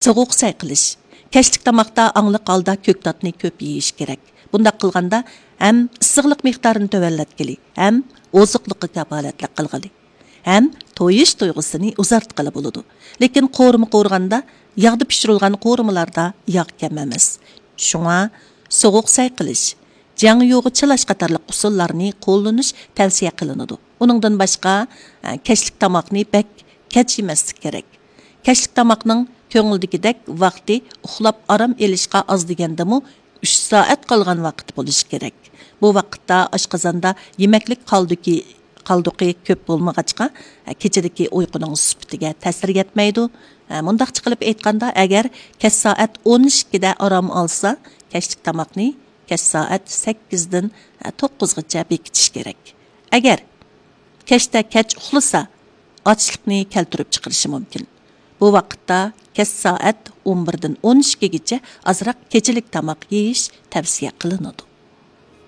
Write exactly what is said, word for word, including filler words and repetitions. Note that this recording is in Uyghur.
سوغۇق سەي قىلىش. كەچلىك تاماقتا ئاڭلىق ھالدا كۆكتاتنى كۆپ يېيىش كېرەك. بۇنداق قىلغاندا ھەم ئىسسىقلىق مىقدارىنى تۆۋەنلەتكىلى، ھەم ئوزۇقلۇققا كاپالەتلىك قىلغىلى، ھەم تويۇش تۇيغۇسىنى ئۇزارتقىلى بولىدۇ. لېكىن قورۇما قورۇغاندا ياغدا پىشۇرۇلغان قورۇمىلاردا ياغ كەم ئەمەس. شۇڭا سوغۇق سەي قىلىش، جياڭيۇغا چىلاش قاتارلىق ئۇسۇللارنى قوللىنىش تەۋسىيە قىلىنىدۇ. ئۇنىڭدىن باشقا، ئە، كەچلىك تاماقنى بەك كەچ يېمەسلىك كېرەك. كەچلىك تاماقنىڭ كۆڭۈلدىكىدەك ۋاقتى ئۇخلاپ ئارام ئېلىشقا ئاز دېگەندىمۇ ئۈچ سائەت قالغان ۋاقىت بولۇشى كېرەك. بۇ ۋاقىتتا ئاشقازاندا يېمەكلىك قالدۇقى، قالدۇقى كۆپ بولمىغاچقا، كېچىدىكى ئۇيقۇنىڭ سۈپىتىگە تەسىر يەتمەيدۇ. مۇنداقچە قىلىپ ئېيتقاندا، ئەگەر كەچ سائەت ئون ئىككىدە ئارام ئالسا، كەچلىك تاماقنى كەچ سائەت سەككىزدىن توققۇزغىچە بېكىتىش كېرەك. ئەگەر كەچتە كەچ ئۇخلىسا، ئاچلىقنى كەلتۈرۈپ چىقىرىشى مۇمكىن. بۇ ۋاقىتتا كەچ سائەت ئون بىردىن ئون ئىككىگىچە ئازراق كېچىلىك تاماق يېيىش تەۋسىيە قىلىنىدۇ.